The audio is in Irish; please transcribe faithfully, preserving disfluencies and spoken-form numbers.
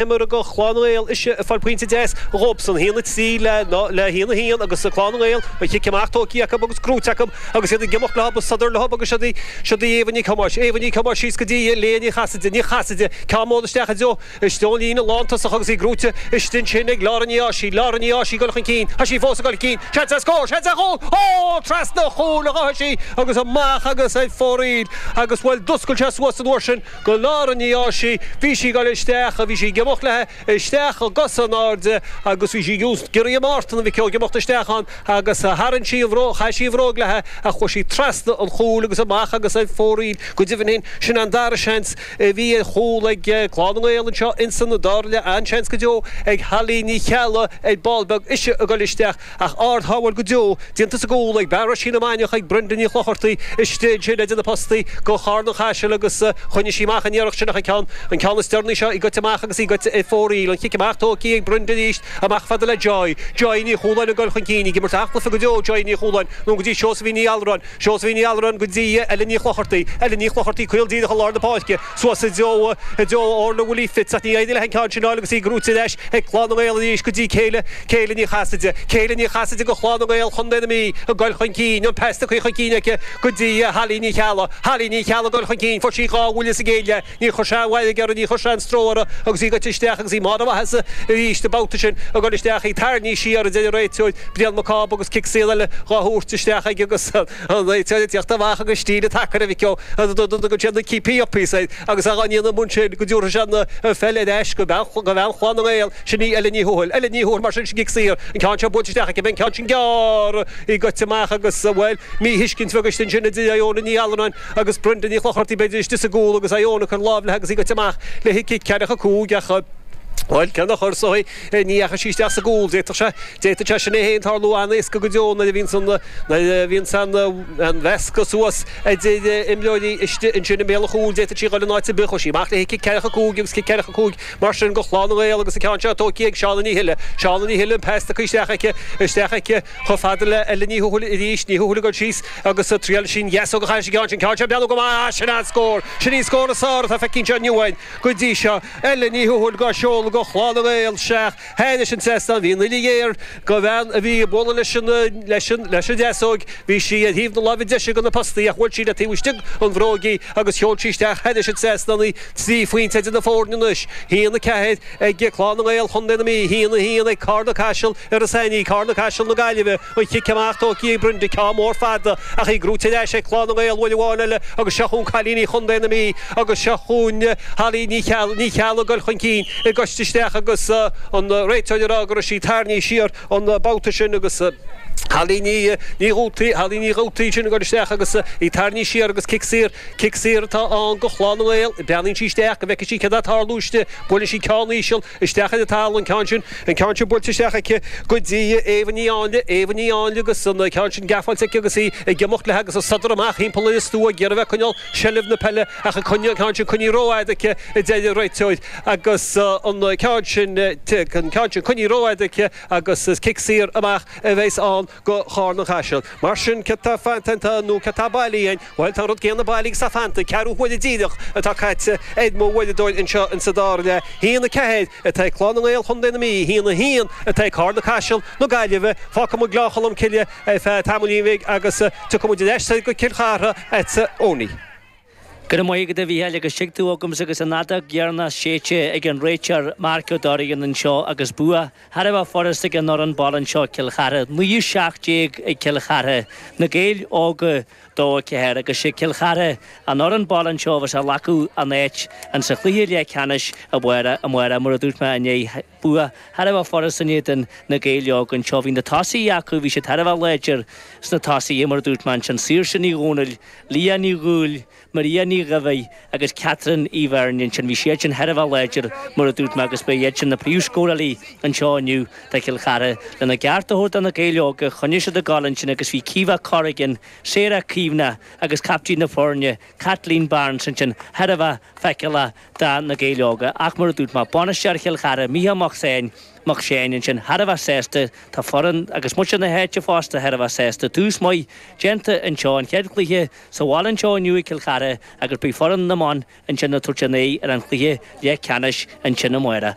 Imeartha do Chlann na nGael ise ag fáil pointe deas dhóibhsan. A haon a trí le le haon a haon agus Clann na nGael an chic amach tógtha acu agus gnóite acu agus iad ag imeacht leo agus sodar leo agus siod í siod í Éabha Nic Thomáis. Éabha Nic Thomáis síos go dtí Léa Ní Chasaide. Ní Chasaide ceann mór isteach i dtreo istigh ón líne lántosach agus í gnóite istigh ansin ag Lára Ní Áisigh. Lára Ní Áisigh ag dul chun cinn. Tá sí fós ag dul chun cinn. Seans ar scór! Seans ar chúl! Ó! Trasna an chúil a ghabh sí agus amach agus ar fóraoil agus bhuel d'oscail sé suas an uair sin go Lára Ní Áisigh. Bhí sí ag dul isteach, bhí sí ag imeacht léi isteach i gcosa in airde agus bhí sí ag iarraidh a Mártan a Mhic ag imeacht isteach ann agus tharraing sí an bhróg, chaith sí an bhróg léi ach chuaigh sí trasna an chúil agus amach agus ar fóraoil. Go deimhin féin, sin an dara seans a bhí ar chúl ag Clann na nGael anseo insan dara leath. An-seans go deo ag Holly Ní Cheallaigh ar ball beag, ise ag dul isteach ach ard-shábháil go deo déanta sa gcúl ag bean Roisín na Mainiach ag Brenda Ní Chlochartaigh istigh ansin idir na postaí go Charn an Chaisil agus choinnigh sí amach an iarracht sin ach an ceann an ceann is deireanaí seo í goite amach agus í goite ar fóraoil. An chic amach tógtha ag Brenda arís amach fada le Joy. Joy Ní Chualáin ag dul chun cinn ag imirt an-chluiche go deo Joy Ní Chualáin nó go dtí Seosaimhín Ní Allmhuráin. Seosaimhín Ní Allmhuráin go dtí Ellen Ní Chlochartaigh. Ellen Ní Chlochartaigh caol díreach i lár na páirce suas i dtreo i dtreo Orla Willie Fitz ach ní éiríonn léi an ceann sin a fháil agus í gnóite ar ais ag Clann na nGael arís go dtí Céile Céile Ní Chasaide. Céile Ní Chasaide go Chlann na nGael Chontae na Mí ag dul chun cinn, an pas tugtha chun cinn aici go dtí Holly Ní Cheallaigh. Holly Ní Cheallaigh ag dul chun cinn, fuair sí dhá bhuille sa gcéad leath, níor chuir sé an mhairg uirthi, níor chuir sé an stró uirthi agus í goite isteach agus í mar a mhaitheasa arís an babhta sin ag dul isteach í tarraingthe siar a deir an réiteoir Brian Mac Cába agus cic saor eile dhá thabhairt isteach aige agus an réiteoir ag tíocht amach agus stíl an tsacair a mhic ó dtugann sé na keepy uppies air agus a dhá ndéanamh ansin go dtabharfaidh sé an pheil ar ais go bean Chlann na nGael. Sin í Ellen Ní Thuathail. Ellen Ní Thuathail mar sin sin cic saor. An ceann seo buailte isteach aici. An ceann sin gearr í goite amach agus, bhuel, míthuiscint bheag istigh ansin idir Iona Ní Allmhuráin agus Brenda Ní Chlochartaigh b'fhéidir istigh sa gcúl agus Iona ag cur lámh léi agus í goite amach le cic ceathracha cúig ach, bhuel, cé nach chuir sí í, ní dheachaigh sí isteach sa gcúl. D'fhéadfadh sé, d'fhéadfadh sé sin é féin tarlú an-éasca go deo nuair a bhíonns an, nuair a bhíonns an, an mheascadh suas idir imreoirí istigh ansin i mbéal an chúil. D'fhéadfadh sí a dhul in áit ar bith. Chuaigh sí amach léi cic ceathracha cúig agus cic ceathracha cúig Mar sin go Chlann na nGael agus an ceann seo tógtha ag Shauna Ní Thuile. Shauna Ní Thuile an pas tugtha isteach aici, isteach aici chomh fada le Ellen Ní Thuathail arís, Ní Thuathail ag dul síos agus triail sí an dheasóg a chaitheamh an ceann sin, ceann seo ag breathnú go maith, ah sin an-scór! Sin í an scór is fearr atá feicthe anseo inniu againn go dtí seo. Ellen Ní Thuathail dhá seoladh go Chlann na nGael isteach thairis an trasnán. Bhí an uillinn ghéar go bhean a bhí ag bualadh leis an, leis an, leis an deasóig. Bhí sí ar thaobh na láimhe deise de na postaí ach bhuail sí le taobh istigh an bhróig í agus sheol sí isteach thairis an trasnán í. Trí phointe idir na foirne anois, a haon a ceathair ag Clann na nGael Chontae na Mí, a haon a haon ag Carna Caiseal ar Ros Ainní, Carna Caiseal na Gaillimhe, an chic amach tógtha ag Brenda, ceann mór fada ach í gnóite ar ais ag Clann na nGael uair amháin eile agus seo chugainn cailíní Chontae na Mí agus seo chugainn Holly Ní Cheallaigh, Ní Cheallaigh ag dul chun cinn í goite isteach agus an réiteoir ag rá go raibh sí tarraingthe siar an babhta sin agus Holly Ní Dhútaí, Holly Ní Dhútaí sin ag dul isteach agus í tarraingthe siar agus cic saor Cic saor atá ann go Chlann na nGael. Breathnaíonn sí isteach go bhfeicfidh sí céard atá ag tarlú istigh. Buaileann sí ceann íseal isteach ar an talamh, an ceann sin, an ceann sin buailte isteach aici go dtí Éabha Ní Áinle, Éabha Ní Áinle agus an ceann sin geafáilte aici agus í ag imeacht léi agus ag sodar amach thimpeall ar an stua ag iarraidh a bheith ag coinneáil seilbh na peile ach an ceann sin coinnithe rófhada aici a deir an réiteoir agus an ceann sin, an ceann sin coinnithe rófhada aici agus is cic saor amach a bheas ann go Charna Caiseal. Mar sin, céard tá fanta nó céard tá bailithe againn? Bhuel, tá an rud céanna bailithe agus tá fanta, ceathrú huaire díreach atá caite ar mo uaireadóir anseo insa dara leath. A haon a ceathair atá ag Clann na nGael Chontae na Mí, a haon a haon atá ag Carna Caiseal na Gaillimhe. Fágfaidh muid Gleann Cholm Cille ar feadh tamaillín bhig agus tiocfaidh muid ar ais soir go Cill Chartha agatsa Owenie. Go raibh maith agat a Mhícheáil agus tuig tú agamsa agus an fheadóg dheireanach séidte ag an réiteoir Marc Ó Dorrigan anseo agus bua thar a bheith furast ag an fhoireann baile anseo Cill Chartha, naoi a seacht déag ag Cill Chartha, Na Gaeil Óga dó a ceathair agus sé Cill Chartha an fhoireann baile anseo a bheas ag glacadh an áit insa chluiche leathcheannais amárach amárach mar a dúirt mé inné bua thar a bheith furast in éadan Na Gaeil Óga anseo. Bhí na tosaithe acu, bhí siad thar a bheith láidir sna tosaithe mar a dúirt mé ansin, Saoirse Ní Dhomhnaill, Leah Ní Dhúill, Maria Ní Dhuibhigh agus Catherine Uí Bheirn ansin. Bhí siad sin thar a bheith láidir, mar a dúirt mé, agus ba iad sin na príomhscórálaí anseo inniu do Chill Chartha. Lena gceart a thabhairt do na Gaeil Óga, choinnigh siad ag gabháil ansin agus bhí Caoimhe Corrigan, Sarah Caomhna agus captaen na foirne, Kathleen Barnes ansin thar a bheith feiceálach do na Gaeil Óga. Ach mar a dúirt mé, bainisteoir Chill Chartha, Mícheál Mac Seáin, Mac Seáin ansin thar a bheith sásta, tá foireann agus muintir na háite fosta thar a bheith sásta. Tús maith déanta anseo, an chéad chluiche Sa bhaile anseo inniu i gCill Chartha. Chartha agus beidh foireann na mban ansin ag tabhairt a n-aghaidh ar an chluiche leathcheannais ansin amárach.